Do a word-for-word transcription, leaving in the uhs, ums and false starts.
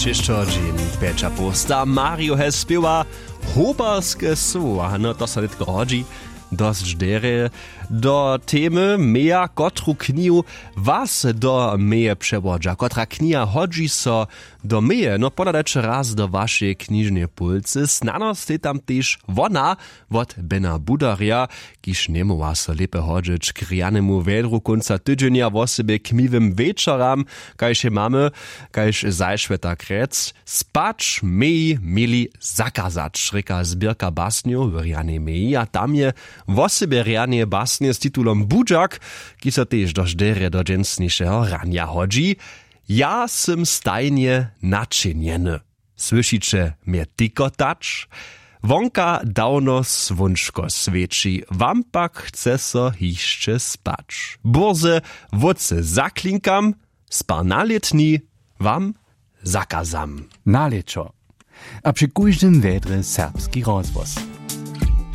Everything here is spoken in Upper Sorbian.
Češćo dźeń pjeća połsta Mario he spěwa hobarske słowa, no to so nětko hodźi dosć derje do temy meja, kotru knihu was do meje přewodźa, kotra kniha hodźi so do meje, no ponadajće raz do wašeje knižneje pólcy, snano stej tam tež wona wot Bena Budarja, kiž njemóhła so lěpje hodźeć k rjanemu wjedru kónca tydźenja, wosebje k miłym wječoram, kaž je mamy, kaž zašwjeta krjec, spać meji měli zakazać, rěka zběrka basnjow w rjanej meji, a tam je wosebje rjane basnje z titulom Budźak, kiž so tež dosć derje do dźensnišeho ranja hodźi. Ja sym stajnje načinjeny. Słyšiće mje tikotać? Wonka dawno słónčko swěći, wam pak chce so hišće spać. Bórze wótře zaklinkam, spar na lětni wam zakazam. Na lěćo. A při kóždym wjedrje serbski rozhłos.